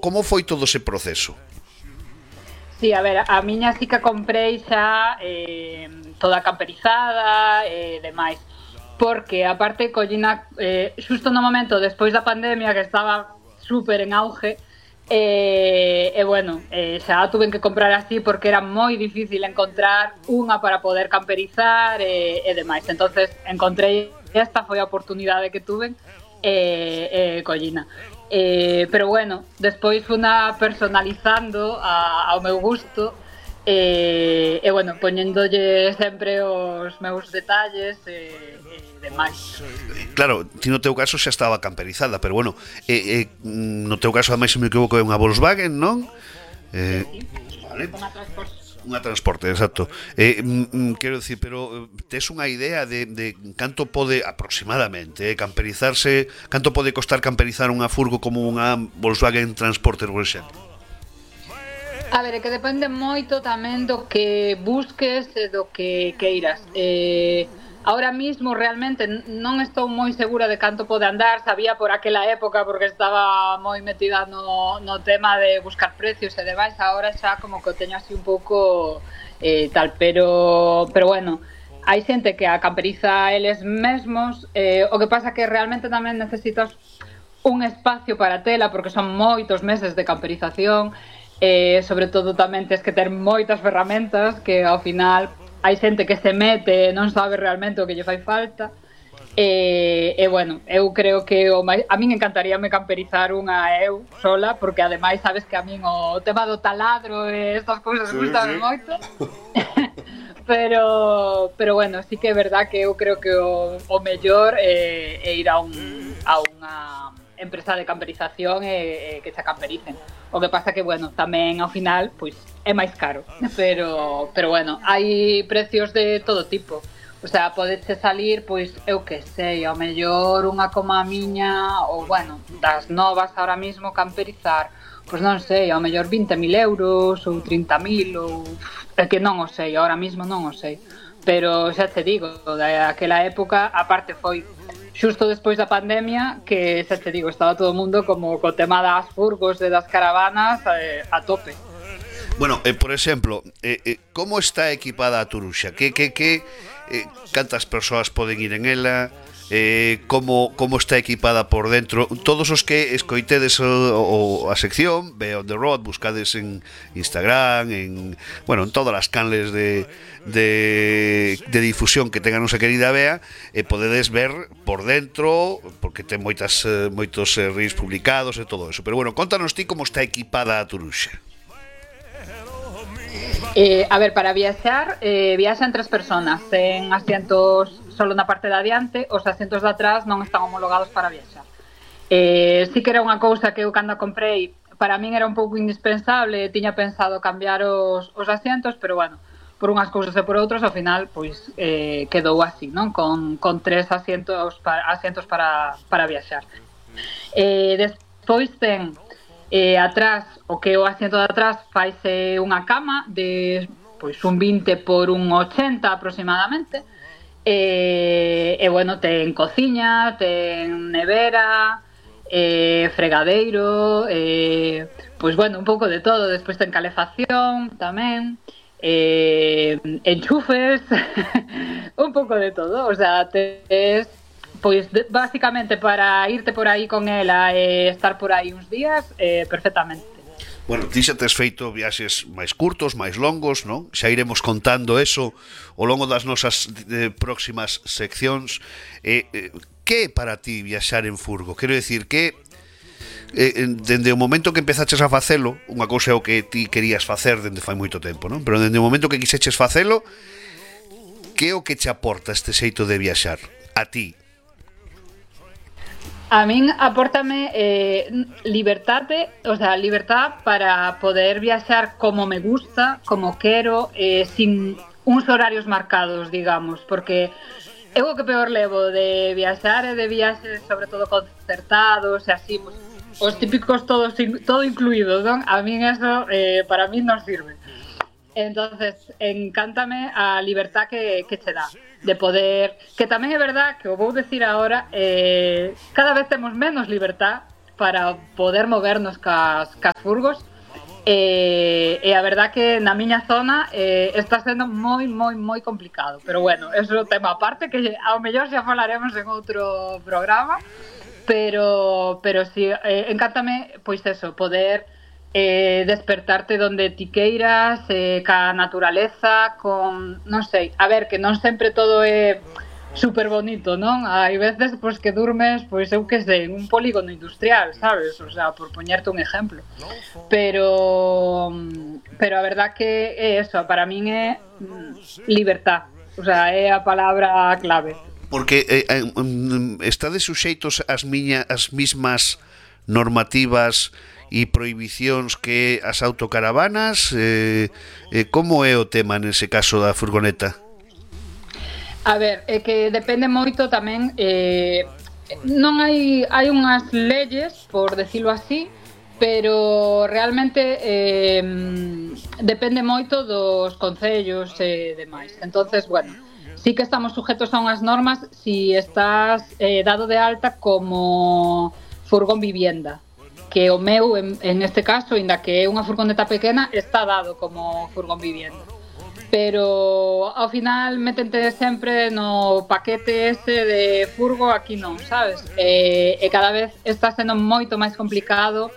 como foi todo ese proceso? Sí, a ver, a miña sí que comprei xa toda camperizada e demais. Porque, aparte, collina xusto no momento despois da pandemia que estaba super en auge, bueno, xa tuven que comprar así porque era moi difícil encontrar unha para poder camperizar e demais. Entonces encontrei esta, foi a oportunidade que tuven collina. Pero bueno, despois funa personalizando ao meu gusto bueno, poñéndolle sempre os meus detalles demais. Claro, ti no teu caso xa estaba camperizada, pero bueno, no teu caso ademais se me equivoco é unha Volkswagen, non? Sí. Vale. Unha Transporte, exacto. Quero dicir, pero tes unha idea de canto pode aproximadamente camperizarse, canto pode costar camperizar unha furgo como unha Volkswagen Transporter, por exemplo? A ver, é que depende moito tamén do que busques e do que queiras. Ahora mismo realmente non estou moi segura de canto pode andar, sabía por aquela época porque estaba moi metida no tema de buscar precios e demais, ahora xa como que o teño así un pouco tal, pero bueno, hai xente que a camperiza eles mesmos, o que pasa que realmente tamén necesitas un espacio para tela porque son moitos meses de camperización, sobre todo tamén tens que ter moitas ferramentas que ao final hai xente que se mete e non sabe realmente o que lle fai falta bueno, eu creo que a min encantaríame camperizar unha eu sola, porque ademais sabes que a min o tema do taladro e estas cousas gustan moito pero bueno, sí que é verdad que eu creo que o mellor é ir a unha empresa de camperización e que se campericen. O que pasa que, bueno, tamén ao final pois é máis caro, pero bueno, hai precios de todo tipo. O sea, podeche salir, pois, eu que sei, ao mellor unha como a miña, ou, bueno, das novas ahora mismo camperizar, pois non sei, ao mellor 20.000 euros ou 30.000, ou... É que non o sei, ahora mismo non o sei. Pero xa te digo, daquela época, aparte foi xusto despois da pandemia, que xa te digo, estaba todo o mundo como co tema das furgos e das caravanas a tope. Bueno, por exemplo, como está equipada a Turuxa? Cantas persoas poden ir en ela? Como está equipada por dentro? Todos os que escoitedes a sección Be on the Road, buscades en Instagram, en todas as canles de difusión que tenga nosa querida Bea, podedes ver por dentro, porque ten moitos reels publicados e todo eso. Pero bueno, contanos ti como está equipada a Turuxa. A ver, para viaxar, viaxan 3 personas en asientos solo na parte de adiante, os asientos de atrás non están homologados para viaxar. Sí que era unha cousa que eu cando comprei, para min era un pouco indispensable, tiña pensado cambiar os asientos, pero bueno, por unhas cousas e por outras, ao final, pois quedou así, non? Con 3 asientos para viaxar. Despois ten atrás, o que o asiento de atrás faise unha cama de pois un 20 por un 80 aproximadamente, bueno, ten cociña, ten nevera, fregadeiro, pois bueno, un pouco de todo. Despois ten calefacción tamén, enchufes, un pouco de todo. O sea, tes pois basicamente para irte por aí con ela e estar por aí uns días perfectamente. Bueno, ti xa tes feito viaxes máis curtos, máis longos, non? Xa iremos contando eso ao longo das nosas próximas seccións. Que é para ti viaxar en furgo? Quero dicir que dende o momento que empezaches a facelo, unha cousa é o que ti querías facer dende fai moito tempo, non? Pero dende o momento que quixeches facelo, que é o que che aporta este xeito de viaxar a ti? A min apórtame libertade, o sea, libertad para poder viaxar como me gusta, como quero, sin uns horarios marcados, digamos, porque eu o que peor levo de viaxar e de viaxes, sobre todo concertados e así, os típicos todo incluído, non? A min eso, para min non sirve. Entonces, encántame a libertad que che dá de poder, que tamén é verdad que o vou decir agora, cada vez temos menos libertad para poder movernos cas furgos. E a verdad que na miña zona está sendo moi complicado, pero bueno, eso é un tema aparte que ao mellor xa falaremos en outro programa, pero si encántame pois eso, poder despertarte donde ti queiras, ca naturaleza, con, non sei, a ver, que non sempre todo é super bonito, non? Hai veces pois que durmes, pois eu que sei, en un polígono industrial, sabes? O sea, por poñerte un exemplo. Pero a verdad que é eso, para min é libertad. O sea, é a palabra clave. Porque estades suxeitos as mismas normativas e prohibicións que as autocaravanas, como é o tema nese caso da furgoneta? A ver, é que depende moito tamén, non hai unhas leyes, por decirlo así, pero realmente depende moito dos concellos e demais. Entonces, bueno, sí que estamos sujetos a unhas normas si estás dado de alta como furgón vivienda, que o meu, en este caso, inda que é unha furgoneta pequena, está dado como furgón vivienda. Pero ao final metente sempre no paquete ese de furgo, aquí non, sabes? E cada vez está sendo moito máis complicado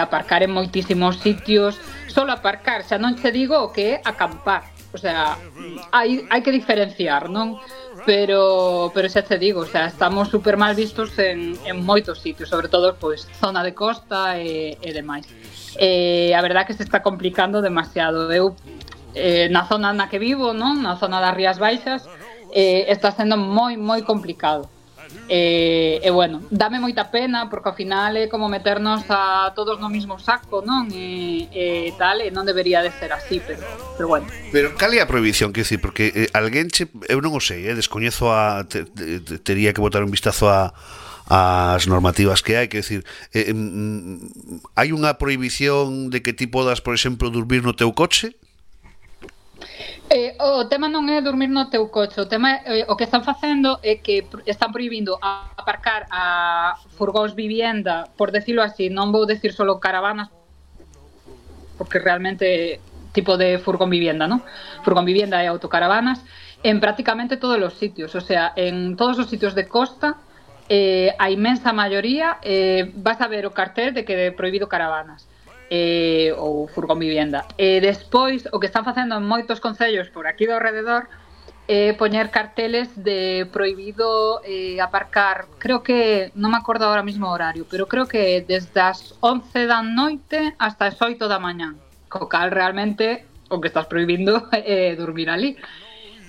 aparcar en moitísimos sitios. Solo aparcar, xa non che digo o que é acampar. O sea, hai que diferenciar, non? Pero xa te digo, o sea, estamos super mal vistos en moitos sitios, sobre todo pois zona de costa e demais. A verdad que se está complicando demasiado. Eu na zona na que vivo, non? Na zona das Rías Baixas, está sendo moi complicado. E bueno, dame moita pena porque ao final é como meternos a todos no mismo saco, non? E tal, e non debería de ser así, pero bueno. Pero cal é a prohibición, quero dicir, porque alguén eu non o sei, descoñezo tería que botar un vistazo as normativas que hai, quero dicir, hai unha prohibición de que ti podas, por exemplo, dormir no teu coche? O tema non é dormir no teu coche, o tema o que están facendo é que están prohibindo aparcar a furgóns vivienda, por decirlo así, non vou decir solo caravanas, porque realmente tipo de furgón vivienda, ¿no? Furgón vivienda e autocaravanas en prácticamente todos os sitios, o sea, en todos os sitios de costa, a inmensa maioría vas a ver o cartel de que é prohibido caravanas. Ou furgón vivienda. Despois, o que están facendo en moitos concellos por aquí do alrededor é poñer carteles de prohibido aparcar, creo que, non me acordo ahora mismo o horario, pero creo que desde as 11 da noite hasta as 8 da mañán, co cal realmente o que estás prohibindo é dormir ali.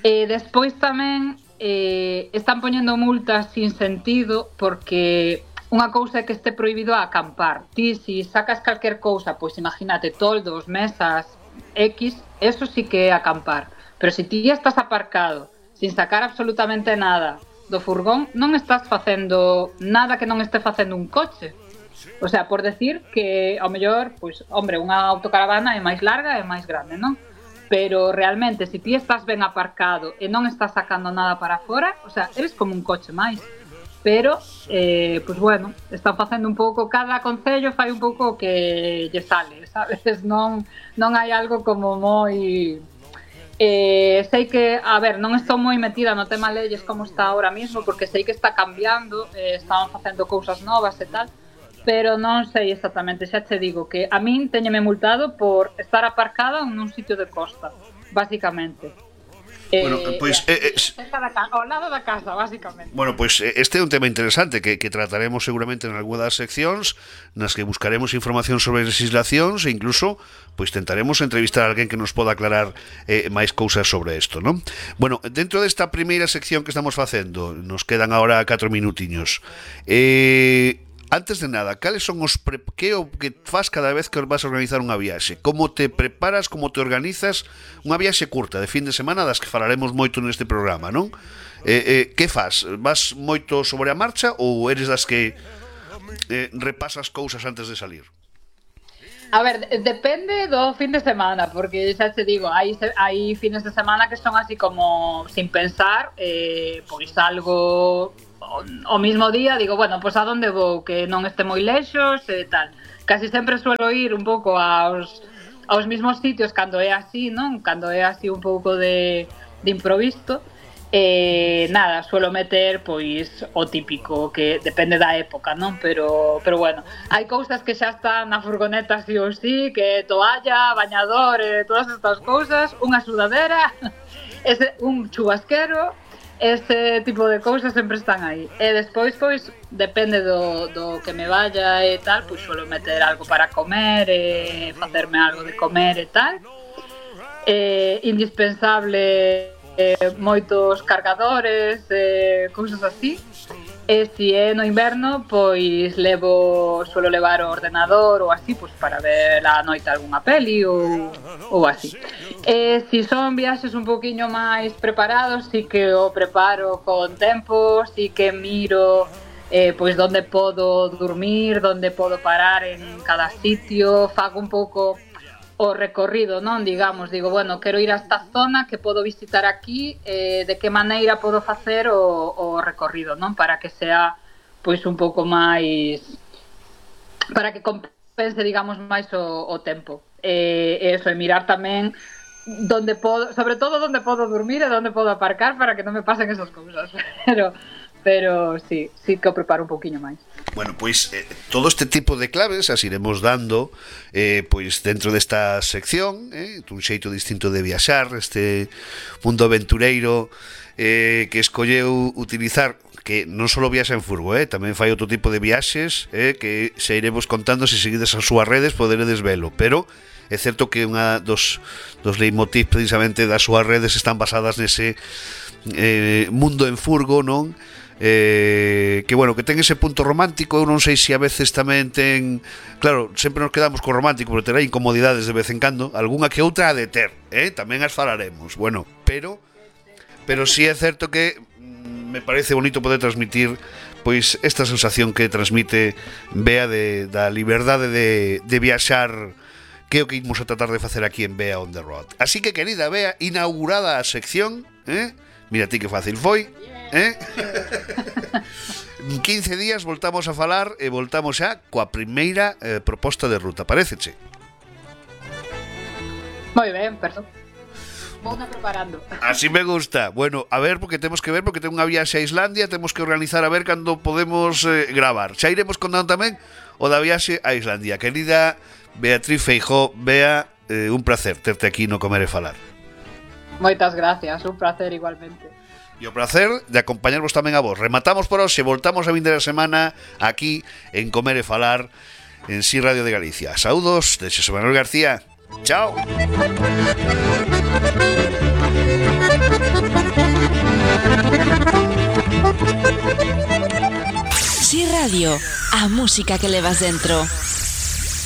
Despois tamén están poñendo multas sin sentido porque unha cousa é que este prohibido a acampar. Ti, si sacas calquer cousa, pois imagínate, toldos, mesas, X, eso sí que é acampar. Pero se ti estás aparcado, sin sacar absolutamente nada do furgón, non estás facendo nada que non este facendo un coche. O sea, por decir que, ao mellor, pois, hombre, unha autocaravana é máis larga e máis grande, non? Pero realmente, se ti estás ben aparcado e non estás sacando nada para fora, o sea, eres como un coche máis. Pero, pues bueno, están facendo un pouco, cada concello fai un pouco o que lle sale, sabes? Non hai algo como moi... sei que, a ver, non estou moi metida no tema leyes como está ahora mismo, porque sei que está cambiando, están facendo cousas novas e tal, pero non sei exactamente, xa te digo que a min teñeme multado por estar aparcada nun sitio de costa, basicamente. Bueno, pois ao lado da casa, basicamente. Bueno, pois este é un tema interesante que trataremos seguramente en algunha das seccións nas que buscaremos información sobre legislacións e incluso pois tentaremos entrevistar a alguén que nos poda aclarar máis cousas sobre isto, non? Bueno, dentro desta primeira sección que estamos facendo, nos quedan agora 4 minutiños. Antes de nada, cales son que o que faz cada vez que vas a organizar unha viaxe? Como te preparas, como te organizas unha viaxe curta de fin de semana das que falaremos moito neste programa, non? Que faz? Vas moito sobre a marcha ou eres das que repasas cousas antes de salir? A ver, depende do fin de semana, porque xa te digo, hai fines de semana que son así como sin pensar, pois algo o mismo día digo, bueno, pois a donde vou, que non este moi lexos e tal. Casi sempre suelo ir un pouco aos mismos sitios cando é así, non? Cando é así un pouco de improviso. Nada, suelo meter pois o típico, que depende da época, non? Pero bueno, hai cousas que xa están na furgoneta sí ou sí, que toalla, bañador, todas estas cousas, unha sudadera, un chubasquero, ese tipo de cousas sempre están aí. E despois, pois, depende do que me vaya e tal, pois suelo meter algo para comer, facerme algo de comer e tal. Indispensable moitos cargadores, cousas así. E se é no inverno, pois suelo levar o ordenador ou así, pois para ver a noite algunha peli ou así. E se son viaxes un poquinho máis preparados, si que o preparo con tempo, si que miro pois onde podo dormir, onde podo parar en cada sitio, fago un pouco o recorrido, non? Digamos, digo, bueno, quero ir a esta zona, que podo visitar aquí, de que maneira podo facer o recorrido, non? Para que sea, pois, un pouco máis, para que compense, digamos, máis o tempo. Eso, e mirar tamén donde podo, sobre todo donde podo dormir e donde podo aparcar para que non me pasen esas cousas. Pero sí que o preparo un pouquiño máis. Bueno, pois todo este tipo de claves as iremos dando pois dentro desta sección, un xeito distinto de viaxar, este mundo aventureiro que escolleu utilizar, que non só viaxa en furgo, tamén fai outro tipo de viaxes que xa iremos contando, se seguides as súas redes poderedes velo, pero é certo que unha dos leitmotiv precisamente das súas redes están basadas nese mundo en furgo, non? Que bueno, que ten ese punto romántico. Eu non sei se a veces tamén ten, claro, sempre nos quedamos co romántico, pero terá incomodidades de vez en cando, algunha que outra ha de ter, tamén as falaremos, bueno, pero sí é certo que me parece bonito poder transmitir pois esta sensación que transmite Bea da liberdade de viaxar, que é o que imos a tratar de facer aquí en Bea on the Road. Así que, querida Bea, inaugurada a sección, mira ti que fácil foi, En 15 días voltamos a falar e voltamos xa coa primeira proposta de ruta, paréceche? Moi ben, perdón. Vou preparando. Así me gusta. Bueno, a ver, porque temos que ver, porque ten unha viaxe a Islandia, temos que organizar a ver cando podemos gravar. Xa iremos contando tamén o da viaxe a Islandia. Querida Beatriz Feijóo, Bea, un placer terte aquí no Comer e Falar. Moitas gracias, un placer igualmente. E o placer de acompañarvos tamén a vos. Rematamos por hoxe, voltamos a vindeira semana aquí en Comer e Falar en Si Radio de Galicia. Saúdos de Xosé Manuel García. Chao. Si Radio, a música que levas dentro.